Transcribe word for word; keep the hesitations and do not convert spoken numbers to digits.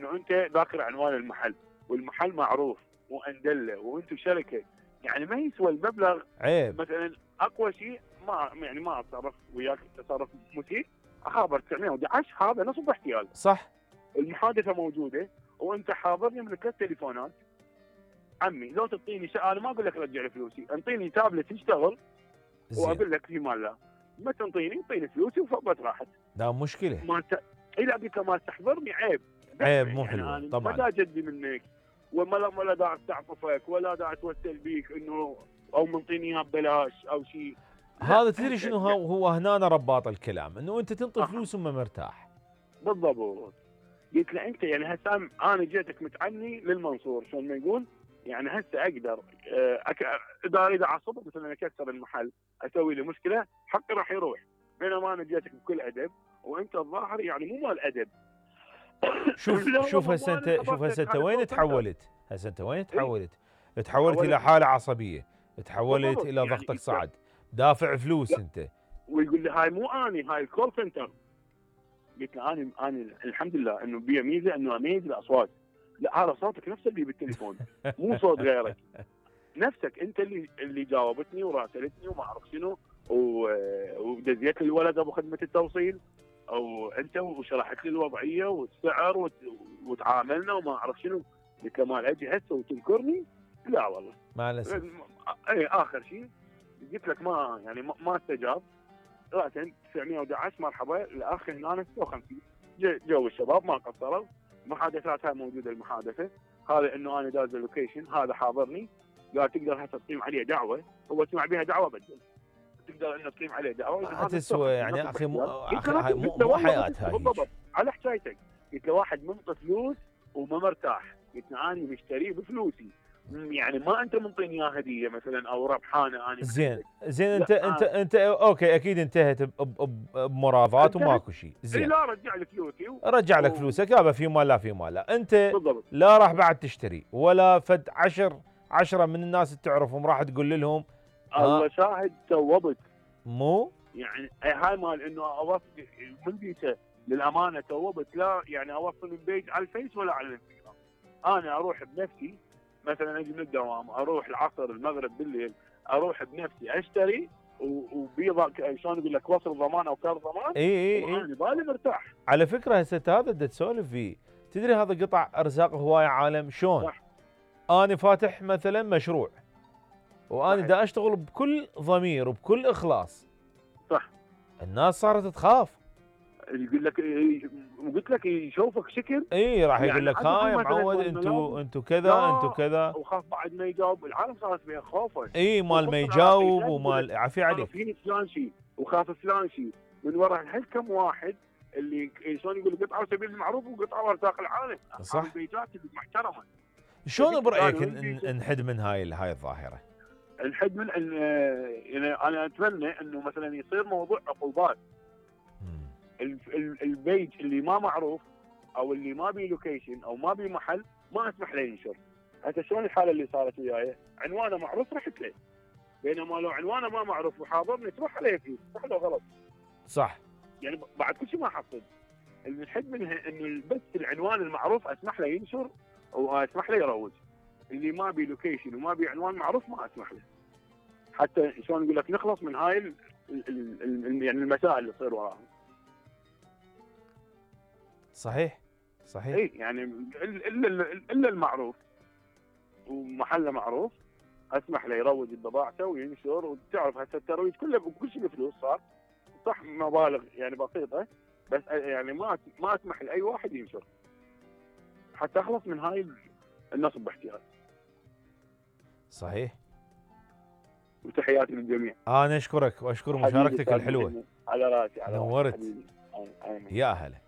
انه انت ذاكر عنوان المحل والمحل معروف واندله وانتم شركه، يعني ما يسوى المبلغ. عيب. مثلا اقوى شيء ما يعني ما اتصرف وياك تصرف مسيء، اخابر تسعمية وأحد عشر، هذا نصب احتيال. صح. المحادثه موجوده وانت حاضرني من ثلاث تليفونات. عمي لو تعطيني شيء انا ما اقول لك رجع لي فلوسي، انطيني تابلت يشتغل واقول لك في مال لا، ما تنطيني انطيني فلوسي وفضت راحت. لا مشكله. ما ت... الى قلت له ما تحضرني عيب. عيب مو يعني حلوه أنا طبعا. ما دا جدي منك ولا ولا دا استعطفك ولا دا اتوسل بيك انه او منطيني اياه ببلاش او شيء. هذا تدري شنو هو, هو هنا رباط الكلام، انه انت تنطي أه. فلوس وما مرتاح. بالضبط. قلت له انت يعني هسه انا جيتك متعني للمنصور شلون ما يقول، يعني هسه اقدر أك... اذا اريد اعصبك مثلا اكسر المحل اسوي له مشكله حقي راح يروح، بينما انا جيتك بكل ادب وانت الظاهر يعني مو مال ادب. شوف شوف هسه انت شوف هسه انت وين تحولت؟ هسه انت وين تحولت؟ تحولت الى حاله عصبيه، تحولت الى يعني ضغطك صعد، دافع فلوس لا. انت. ويقول لي هاي مو اني، هاي الكول سنتر. قلت له انا انا الحمد لله انه بي ميزه انه اميز الاصوات. لا هذا صوتك نفس اللي بالتليفون مو صوت غيرك، نفسك انت اللي اللي جاوبتني وراسلتني وما اعرف شنو ودزيت الولد ابو خدمه التوصيل او انت وشرحت لي الوضعيه والسعر وت... وتعاملنا وما اعرف شنو. قلت له مال اجي هسه وتنكرني؟ لا والله. مع الاسف. اي اخر شيء قلت لك ما يعني ما, ما استجاب. راسا تسعمية وأحد عشر مرحبا الاخ هنا ستة وخمسين. جو الشباب ما قصروا، محادثات هاي موجوده المحادثه، هذا انه انا داز اللوكيشن هذا حاضرني، قال تقدر هسه تقيم عليه دعوه، هو سمع بها دعوه بدل تقدر انه تقيم عليه دعوه. ما تسوى يعني اخي مو اخي مو, مو حياه هاي. بالضبط على حكايتك. قلت له واحد منطي فلوس وما مرتاح، قلت له انا مشتريه بفلوسي، يعني ما انت منطيني اياه هديه مثلا او ربحانه. انا زين زين انت انت انت اوكي اكيد انتهت بمراضات وماكو شيء. زين لا رجع لي فلوسي و... رجع لك فلوسك يابا في مال لا في مال لا. انت بالضبط. لا راح بعد تشتري ولا فد عشر عشرة من الناس اللي تعرفهم راح تقول لهم الله شاهد توبت. مو يعني هاي مال انه اوصل من ديته للامانه توبت. لا يعني اوصل من بيت على الفيس ولا على الانستغرام. انا اروح بنفسي مثلا اجي من الدوام اروح العصر المغرب بالليل اروح بنفسي اشتري وبيضا شلون اقول لك وصل ضمان او كارت ضمان. اي اي اي انا بالي مرتاح. على فكره هسه هذا بدك تسولف فيه. تدري هذا قطع ارزاق هوايه عالم شلون؟ صح. انا فاتح مثلا مشروع وانا دا اشتغل بكل ضمير وبكل اخلاص. صح. الناس صارت تخاف. يقول لك وقلت لك يشوفك شكل. اي راح يقول لك ها يا معود انتوا انتوا كذا انتوا كذا. وخاف بعد ما يجاوب. العالم صارت فيها خوفه. اي مال ما يجاوب ومال عافيه عليك. في فلان شيء وخاف فلان شيء من وراء الحل. كم واحد اللي شلون يقول قطعه سبيل المعروف وقطعه ارزاق العالم. صح. البيجات محترمه. شلون برايك نحد من هاي هاي الظاهره؟ نحد من ان يعني انا اتمنى انه مثلا يصير موضوع عقوبات. البيج اللي ما معروف او اللي ما بي لوكيشن او ما بي محل ما اسمح له ينشر. حتى شلون الحاله اللي صارت وياي عنوانه معروف رحت له، بينما لو عنوانه ما معروف وحاضرني تروح عليه فلوس. صح لو غلط؟ صح. يعني بعد كل شيء ما حصل. الحد منها انه بس العنوان المعروف اسمح له ينشر واسمح له يروج. اللي ما بي لوكيشن وما بي عنوان معروف ما اسمح له. حتى شلون اقول لك نخلص من هاي ال ال ال يعني المسائل اللي تصير وراها. صحيح صحيح. اي يعني الا الا المعروف ومحله معروف اسمح له يروج بضاعته وينشر. وتعرف هسه الترويج كله بكل شيء بفلوس صار. صح مبالغ يعني بسيطه بس يعني ما ما اسمح لاي واحد ينشر حتى اخلص من هاي النصب باحتيال. صحيح. وتحياتي للجميع. انا اشكرك واشكر مشاركتك الحلوه. على راسي على نورت. راسي حبيبي. يا هلا.